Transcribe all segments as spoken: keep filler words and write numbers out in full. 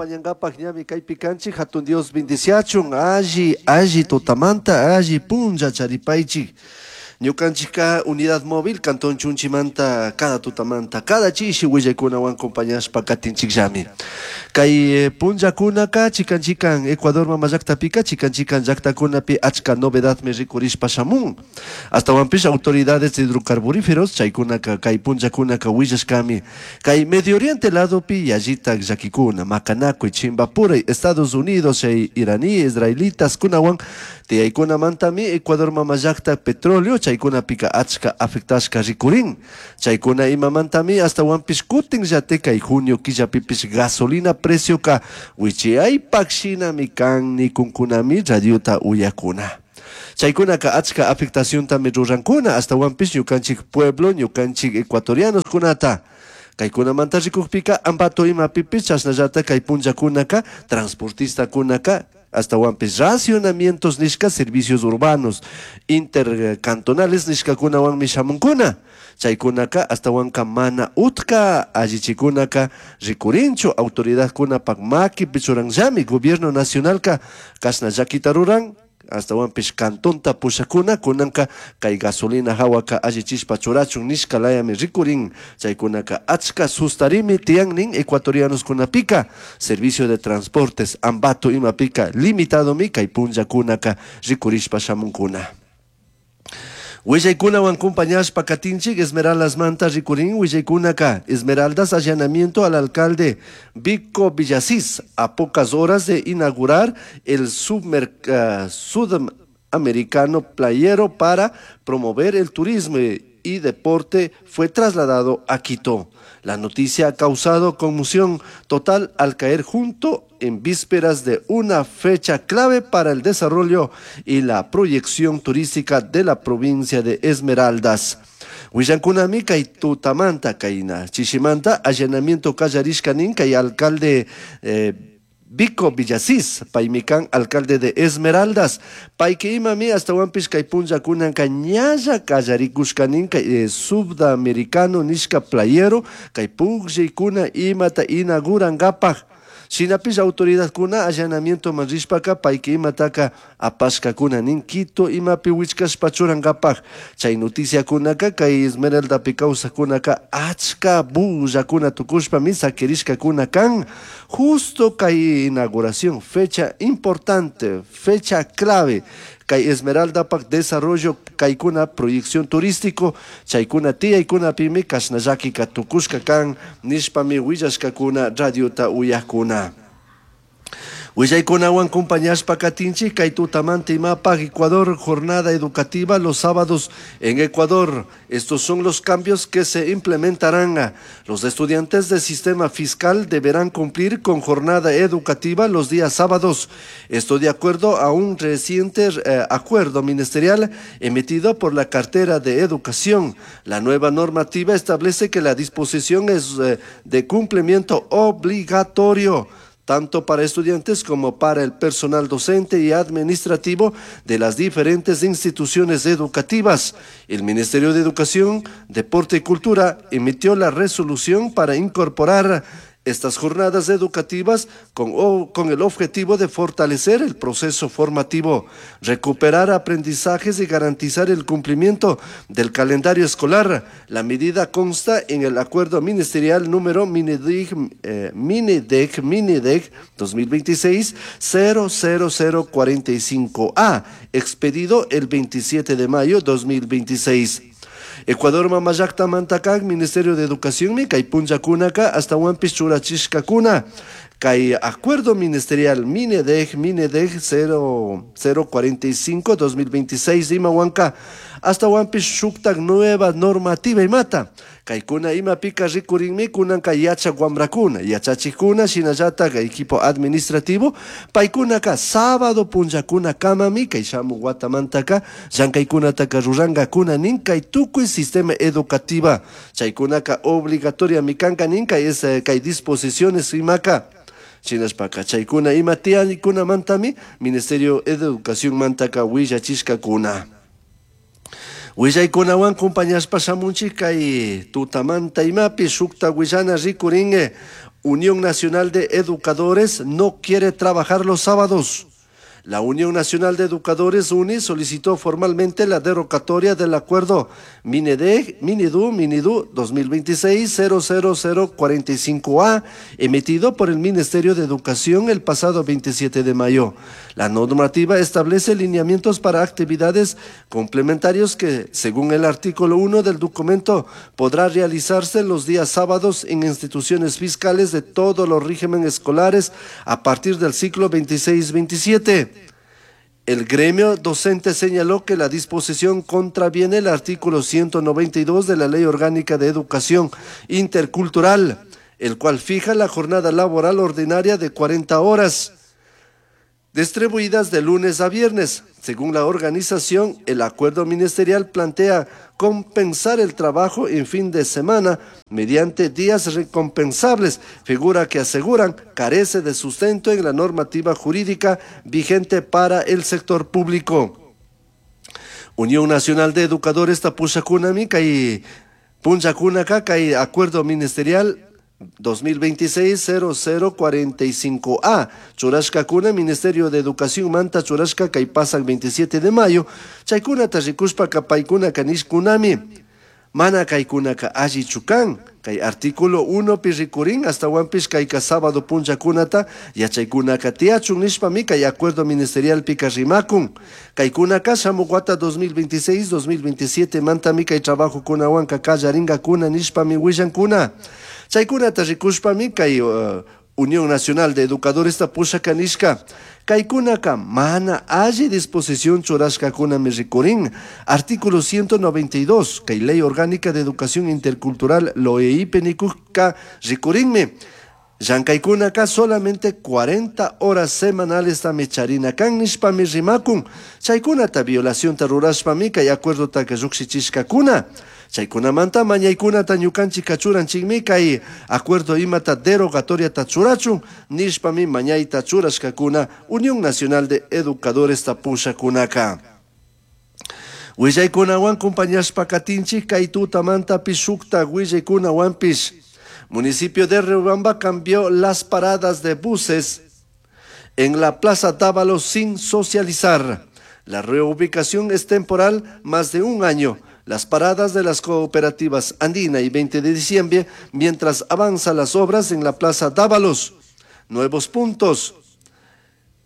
Acompañangapaj ñami kaypi kanchik, hatun Dios bendiciachun, alli, alli tutamanta, alli punlla charipaychik. Ñukanchikka unidad móvil Cantón Chunchimanta cada tutamanta, cada chishi willaykunawan acompañashpa katinchikllami. Kay punllakunaka chikan chikan Ecuador mama llaktapika chikan chikan llaktakunapi achka novedadmi rikurishpa shamun. Astawanpish autoridades hidrocarburíferos chaykunaka kay punllakunaka willashkami. Kay Medio Oriente ladopi yallitak llakikuna, makanakuy, chimbapuray, Estados Unidos chay iraní, israelitas kunawan tiyaykunamantami Ecuador mama llakta petróleo chaykunapika achka afectashka rikurin. Chaykuna imamantami astawanpish kutin llate kay junio killapipish gasolina precioka wichiyaypak shinami kan nikunkunami radiota uyakuna. Chaykunaka achka afectaciontami rurankuna astawanpish ñukanchik pueblo, ñukanchik ecuatorianos kunata. Kaykunamanta rikukpika Ambato imapipish chashnallata kay punllakunaka transportistakunaka astawanpish racionamientos nishka servicios urbanos intercantonales nishkakunawanmi shamunkuna. Chaykunaka astawanka mana utka allichikunaka rikurinchu autoridadkunapak makipi churanllami gobierno nacionalka kashna llakita ruran astawanpish cantonta pushakuna kunanka kay gasolina hawaka allichishpa churachun nishka layami rikurin. Chaykunaka achka sustarimi tiyan nin ecuatorianos kunapika servicio de transportes Ambato imapika limitadomi kay punllakunaka rikurishpa shamunkuna. Willaykunawan acompañashpa katinchik Esmeraldas manta rikurin willaykunaka Esmeraldas allanamiento al alcalde Vico Villasís a pocas horas de inaugurar el submer, uh, sudamericano playero para promover el turismo y deporte fue trasladado a Quito. La noticia ha causado conmoción total al caer junto en vísperas de una fecha clave para el desarrollo y la proyección turística de la provincia de Esmeraldas. Willankunami kay tutamanta kayna chishimanta allanamiento kallarishka nin kay alcalde eh, Vico Villasís, paymi kan alcalde de Esmeraldas, payki imami astawanpish kay punllakunanka ñalla kallarikushka nin kay eh, sudamericano nishka playero kay pukllaykuna imata inaugurankapaj. Shinapish autoridadkuna allanamiento man rishpaka payki imataka apashkakuna nin Quito imapi wichkashpa churankapaj. Chay noticiakunaka kay Esmeraldapi kawsakkunaka achka bullakuna tukushpami sakirishkakuna kan. Justo kay inauguración, fecha importante, fecha clave, kay Esmeraldapak desarrollo kaykuna proyección turístico chaykuna tiyaykunapimi kashna llakika tukushka kan nishpami willashkakuna radiota uyakuna. Willaykunawan acompañashpa katinchik kay tutamanta imapaj Ecuador, jornada educativa los sábados en Ecuador. Estos son los cambios que se implementarán. Los estudiantes del sistema fiscal deberán cumplir con jornada educativa los días sábados. Esto de acuerdo a un reciente eh, acuerdo ministerial emitido por la cartera de Educación. La nueva normativa establece que la disposición es eh, de cumplimiento obligatorio tanto para estudiantes como para el personal docente y administrativo de las diferentes instituciones educativas. El Ministerio de Educación, Deporte y Cultura emitió la resolución para incorporar estas jornadas educativas con, o, con el objetivo de fortalecer el proceso formativo, recuperar aprendizajes y garantizar el cumplimiento del calendario escolar. La medida consta en el acuerdo ministerial número MINEDEC, eh, MINEDEC, MINEDEC dos mil veintiséis cero cero cero cuarenta y cinco A, expedido el veintisiete de mayo dos mil veintiséis. Ecuador mama llaktamantaka Ministerio de Educación mi kay punllakunaka astawanpish churachishkakuna kay acuerdo ministerial MINEDEC, MINEDEC cero cero cuarenta y cinco dos mil veintiséis imawanka astawanpish shuktak nueva normativa imata kaykuna imapika rikurinmi kunanka yachak wamrakuna yachachikuna shinallatak equipo administrativo paykunaka sábado punllakuna kamami kay shamuk watamantaka llankaykunataka rurankakuna nin kay tukuy sistema educativa chaykunaka obligatoriami kanka nin kay es, kay disposiciones imaka shinashpaka chaykuna ima tiyankunamantami Ministerio de Educación mantaka willachishkakuna. Willaykunawan compañashpa shamunchik kay tutamanta imapi shukta willana rikuringue. Unión Nacional de Educadores no quiere trabajar los sábados. La Unión Nacional de Educadores UNI solicitó formalmente la derogatoria del acuerdo MINEDEG, MINEDU, MINEDU dos mil veintiséis cero cero cero cuarenta y cinco A, emitido por el Ministerio de Educación el pasado veintisiete de mayo. La normativa establece lineamientos para actividades complementarios que, según el artículo uno del documento, podrá realizarse los días sábados en instituciones fiscales de todos los regímenes escolares a partir del ciclo veintiséis veintisiete. El gremio docente señaló que la disposición contraviene el artículo ciento noventa y dos de la Ley Orgánica de Educación Intercultural, el cual fija la jornada laboral ordinaria de cuarenta horas, distribuidas de lunes a viernes. Según la organización, el acuerdo ministerial plantea compensar el trabajo en fin de semana mediante días recompensables, figura que aseguran carece de sustento en la normativa jurídica vigente para el sector público. Unión Nacional de Educadores Tapushacunami, kay Punchacunaka, kay acuerdo ministerial dos mil veintiséis cero cero cuarenta y cinco A, churashkakuna Ministerio de Educación manta churashka kay pasak veintisiete de mayo, chaykunata rikushpaka paykunaka nishkunami, mana kaykunaka alli chukan, kay artículo uno pi rikurin hasta wanpish kayka sábado punchakunata yachaykunaka tiyachun nishpami kay acuerdo ministerial pika rimakun, kaykunaka shamuq wata dos mil veintiséis dos mil veintisiete mantami kay trabajokunawanka kallaringakuna nishpami willankuna. Chaykunata rikushpami kay, uh, Unión Nacional de Educadores tapushaka nishka, kaykunaka mana alli disposición churashkakunami rikurin. Artículo ciento noventa y dos, kay Ley Orgánica de Educación Intercultural L O E I P nikuka rikurinmi. Llankaykunaka solamente cuarenta horas semanales tami charina kan nishpami rimakun. Chaykunata violación rurashpami kay acuerdo taka llukshichishkakuna. Chaykunamanta mañaykunata ñukanchik kachuranchikmi kay acuerdo imata derogatoria churachun nishpami mañayta churashkakuna Unión Nacional de Educadores tapushakunaka. Willaykunawan compañashpa katinchik kay tutamanta pishukta willaykunawanpish. Municipio de Riobamba cambió las paradas de buses en la Plaza Dávalos sin socializar. La reubicación es temporal, más de un año. Las paradas de las cooperativas Andina y veinte de diciembre, mientras avanzan las obras en la Plaza Dávalos. Nuevos puntos.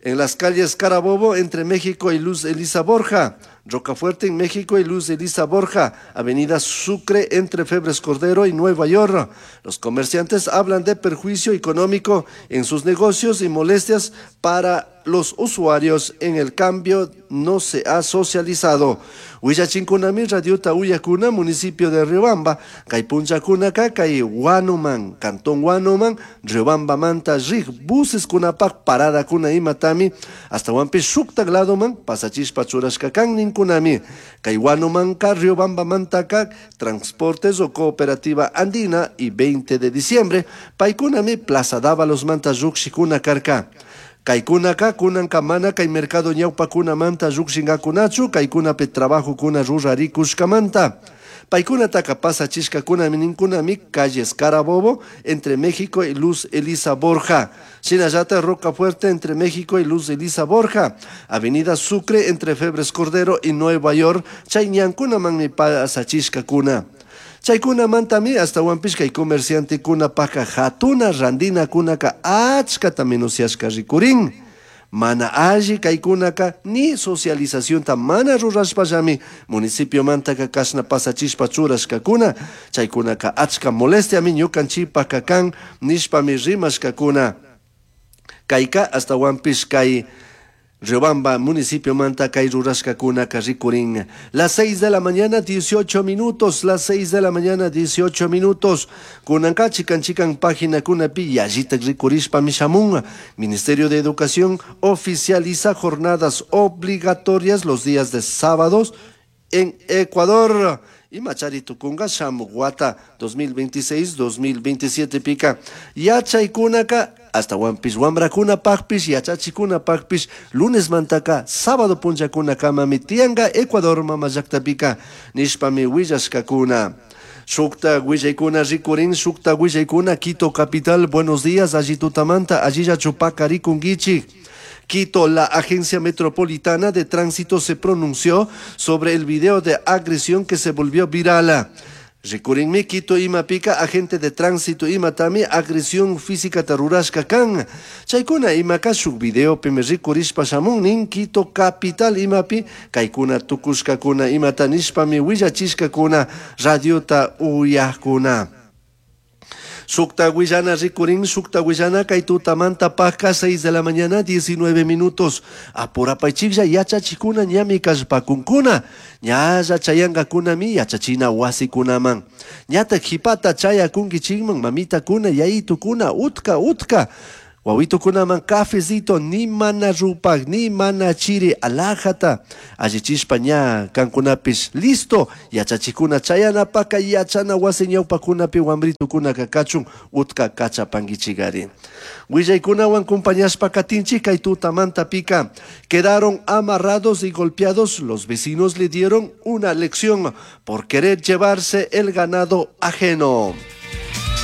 En las calles Carabobo, entre México y Luz Elisa Borja. Rocafuerte en México y Luz Elisa Borja. Avenida Sucre entre Febres Cordero y Nueva York. Los comerciantes hablan de perjuicio económico en sus negocios y molestias para los usuarios. En el cambio no se ha socializado. Huillachinkunami, Radiota Uyacuna, municipio de Riobamba, Kaypunchacunaka, Kay Huanuman, Cantón Huanuman, Riobamba Manta, Rig, buses kunapak, parada kuna imatami, hasta Huampi Shuktak ladoman, pasachispa churashkakan ninkunami, Kay Huanuman ka, Riobamba Mantaka, Transportes o Cooperativa Andina y veinte de diciembre, Paykunami, Plaza Dávalos Manta, Rukshikuna Karka. Kaykunaka, kunanka mana, kay mercado ñawpa kuna manta llukshingakunachu, kaykunapi trabajo kuna rurarikushkamanta. Paykunataka pasachishkakuna ninkunami calles Carabobo entre México y Luz Elisa Borja. Shinallata Rocafuerte entre México y Luz Elisa Borja. Avenida Sucre entre Febres Cordero y Nueva York. Chayñankuna manmi pasachishkakuna. Chaykuna mantami hasta Huampishka y comerciante kuna paja jatuna randina kunaka achkata menuciashka rikurin. Mana alli kaykunaka ni socialización ta mana rurashpallami municipio mantaka kashna pasachishpa churashkakuna. Chaykunaka achka molestiami ñukanchipaka kan nishpami rimashkakuna. Kayka hasta Huampishka y Riobamba, municipio Manta, kay rurashkakuna rikurin. Las seis de la mañana, dieciocho minutos. Las seis de la mañana, dieciocho minutos. Kunanka, chican, chican, página kunapi, yallita rikurishpa mishamun. Ministerio de Educación oficializa jornadas obligatorias los días de sábados en Ecuador. Y Machari Tucunga, Shamuguata, dos mil veintiséis, dos mil veintisiete pica. Yachaykunaka, hasta Huampis, Huambracuna, Pacpis, Yachachicuna, Pacpis, lunes mantaka, sábado punchacuna, kama, mitianga, Ecuador, mama, yacta pica, nishpami, huillashkakuna. Shukta willaykuna rikurin, shukta willaykuna Quito capital, buenos días, alli tutamanta, allillachu paqarikunkichik. Quito, la Agencia Metropolitana de Tránsito se pronunció sobre el video de agresión que se volvió viral. Rikurinmi Quito imapika agente de tránsito imatami agresión física rurashka kan. Chaykuna imaka shuk videopimi rikurishpa shamun nin Quito capital imapi kaykuna tukushkakuna imata nishpami willachishkakuna radiota uyakuna. Shukta willana rikurin, shukta willana kay tutamanta paka seis de la mañana diecinueve minutos. Apurapaychiklla yachachikuna ñami kallpakunkuna. Ñalla chayankakunami yachachina wasikunaman. Ñata qhipata chayakunkichikman mamitakuna yayitukuna utka utka. Wawitukunaman cafecito ni mana rupak ni mana chiri alajata. Allichishpa ña kankunapis listo yachachikuna chayanapaka yachana wasi ñawpakunapi wambritukunaka kachun utka kachapankichikari. Willaykunawan compañashpa katinchik kay tutamanta pika. Quedaron amarrados y golpeados. Los vecinos le dieron una lección por querer llevarse el ganado ajeno.